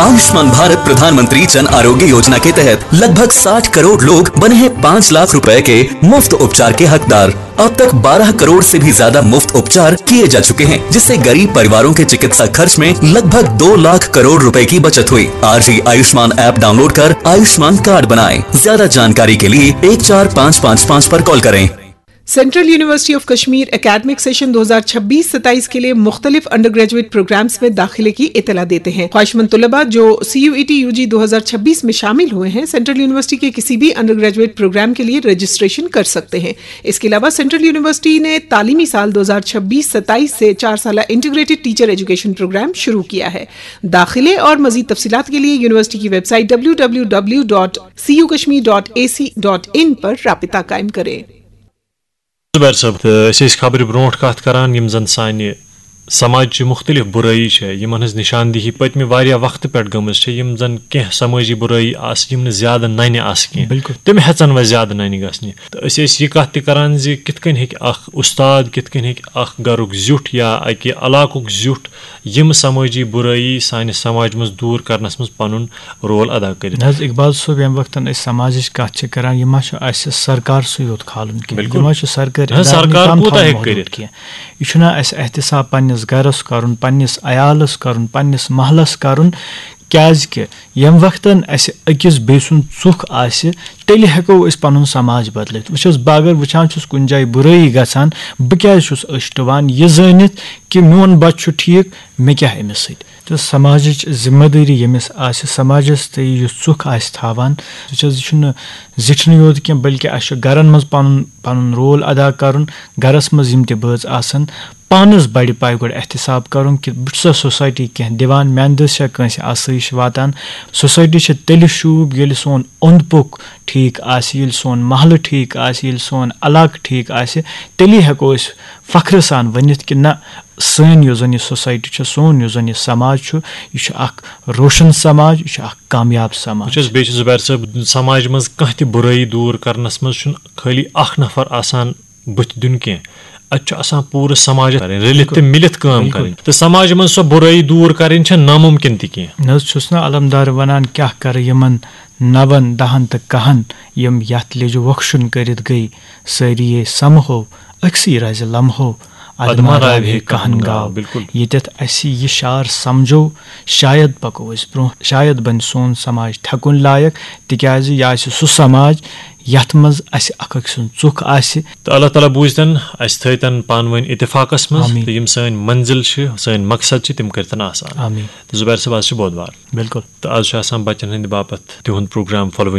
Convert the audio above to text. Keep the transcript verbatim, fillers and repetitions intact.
आयुष्मान भारत प्रधानमंत्री जन आरोग्य योजना के तहत लगभग साठ करोड़ लोग बने हैं पाँच लाख रुपए के मुफ्त उपचार के हकदार। अब तक बारह करोड़ से भी ज्यादा मुफ्त उपचार किए जा चुके हैं, जिससे गरीब परिवारों के चिकित्सा खर्च में लगभग दो लाख करोड़ रुपए की बचत हुई। आज ही आयुष्मान ऐप डाउनलोड कर आयुष्मान कार्ड बनाएं। ज्यादा जानकारी के लिए एक चार पाँच पाँच पाँच पर कॉल करें। Central university of Kashmir academic session दो हज़ार छब्बीस सत्ताईस के लिए मुख्तलिफ अंडर ग्रेजुएट प्रोग्राम्स में दाखिले की इतला देते हैं। ख्वाहिशमंद तलबा जो सी यू ई टी यू जी दो हज़ार छब्बीस में शामिल हुए हैं, सेंट्रल यूनिवर्सिटी के किसी भी अंडर ग्रेजुएट प्रोग्राम के लिए रजिस्ट्रेशन कर सकते हैं। इसके अलावा सेंट्रल यूनिवर्सिटी ने तालीमी साल दो हज़ार छब्बीस सत्ताईस से चार साल इंटीग्रेटेड टीचर एजुकेशन प्रोग्राम शुरू किया है। दाखिले और मजीद तफसीलात के लिए यूनिवर्सिटी की website W W W dot C U Kashmir dot A C dot in पर राबता कायम करें। زبیر صٲب، تہٕ أسۍ ٲسۍ خبرِ برونٛٹھ کتھ کران، یِم زن سانہِ سماجچہِ مُختٔلِف بُرٲیی چھےٚ، یِمن ہٕنٛز نِشاندِہی پٔتمہِ واریاہ وقتہٕ پٮ۪ٹھ گٔمٕژ چھےٚ، یِم زن کینٛہہ سمٲجی بُرٲیی آسہٕ، یِم نہٕ زیادٕ ننہِ آسہٕ کینٛہہ۔ بِلکُل۔ تِم ہٮ۪ژن وۄنۍ زیادٕ ننہِ گژھنہِ۔ تہٕ أسۍ ٲسۍ یہِ کتھ تہِ کران زِ کِتھ کٔنۍ ہیٚکہِ اکھ اُستاد، کِتھ کٔنۍ ہیٚکہِ اکھ گرُک زیُٹھ یا اکہِ علاقُک زیُٹھ یِم سمٲجی بُرٲیی سانہِ سماج منٛز دوٗر کرنس منٛز پنُن رول ادا کٔرِتھ۔ نہ حظ، اقبال صٲب، ییٚمہِ وقتن أسۍ سماجٕچ کتھ چھِ کران، یہِ ما چھُ اسہِ سرکار سٕے یوت کھالُن کینٛہہ؟ بِلکُل۔ یہِ ما چھُ سرکٲرۍ نہ حظ، ادارن سرکار تام کوٗتاہ تھاوُن ہیٚکہِ محدوٗد کٔرِتھ؟ کینٛہہ؟ یہِ چھُنہ اسہِ احتساب پننِس گرس کرُن، پننِس عیالس کرُن، پننِس محلس کرُن؟ کیازِ کہِ ییٚمہِ وقتن اسہِ أکِس بیٚیہِ سُنٛد ژُکھ آسہِ، تیٚلہِ ہٮ۪کو أسۍ پنُن سماج بدلٲیِتھ۔ وٕچھ حظ، بہٕ اگر وٕچھان چھُس کُنہِ جایہِ بُرٲیی گژھان، بہٕ کیازِ چھُس أچھ ٹُوان یہِ زٲنِتھ کہِ میون بچہِ چھُ ٹھیٖک، مےٚ کیٛاہ أمِس سۭتۍ؟ تہٕ سماجٕچ ذمہ دٲری ییٚمِس آسہِ، سماجس تہٕ یُس ژُکھ آسہِ تھاوان، سُہ چھِ حظ، یہِ چھُنہٕ زِٹھنٕے یوت کینٛہہ، بلکہِ اَسہِ چھُ گرن منٛز پنُن پنُن رول ادا کرُن۔ گرس منٛز یِم تہِ بٲژ آسن، پانس بڑِ پایہِ گۄڈٕ احتساب کرُن کہِ بہٕ چھُسا سوسایٹی کینٛہہ دِوان، میانہِ دٔسۍ چھا کٲنٛسہِ آسٲیِش واتان۔ سوسایٹی چھِ تیٚلہِ شوٗب ییٚلہِ سون اوٚنٛد پوٚک ٹھیٖک آسہِ، ییٚلہِ سون محلہٕ ٹھیٖک آسہِ، ییٚلہِ سون علاقہٕ ٹھیٖک آسہِ، تیٚلی ہٮ۪کو أسۍ فخرٕ سان ؤنِتھ کہِ نہ، سٲنۍ یۄس زن یہِ سوسایٹی چھِ، سون یُس زن یہِ سماج چھُ، یہِ چھُ اکھ روشن سماج، یہِ چھُ اکھ کامیاب سماج۔ وٕچھ حظ، بیٚیہِ چھُ زُبیر صٲب، سماج منٛز کانٛہہ تہِ بُرٲیی دوٗر کرنس منٛز چھُنہٕ خٲلی اکھ نفر آسان بُتھِ دیُن کینٛہہ، اتہِ چھُ آسان پوٗرٕ سماجس کرٕنۍ، رٔلِتھ تہٕ مِلِتھ کٲم کرٕنۍ۔ تہٕ سماج منٛز سۄ بُرٲیی دوٗر کرٕنۍ چھےٚ نامُمکِن تہِ کینٛہہ۔ نہ حظ، چھُس نہٕ علمدار ونان کیٛاہ کرٕ یِمن نون دہن تہٕ کہن، یِم یتھ لیٚجہِ وۄکھشُن کٔرِتھ گٔے۔ سٲری یے سمہو أکسٕے رزِ لمحو، ادٕ ما راوِ ہے کہن گاو۔ بِلکُل۔ ییٚتٮ۪تھ اسہِ یہِ شعر سمجھو، شاید پکو أسۍ برونٛہہ، شاید بنہِ سون سماج تھٮ۪کُن لایق، تِکیازِ یہِ آسہِ سُہ سماج یتھ منٛز اسہِ اکھ أکۍ سُنٛد ژُکھ آسہِ۔ تہٕ اللہ تعالیٰ بوٗزتن، اسہِ تھٲوتن پانہٕ ؤنۍ اتفاقس منٛز، آمیٖن۔ تہٕ یِم سٲنۍ منزل چھِ، سٲنۍ مقصد چھِ، تِم کٔرتن آسان۔ آمیٖن۔ تہٕ زُبیر صٲب، از چھُ بودوار۔ بِلکُل۔ تہٕ از چھُ آسان بچن ہٕنٛدِ باپتھ تِہُنٛد پروگرام فالووِنگ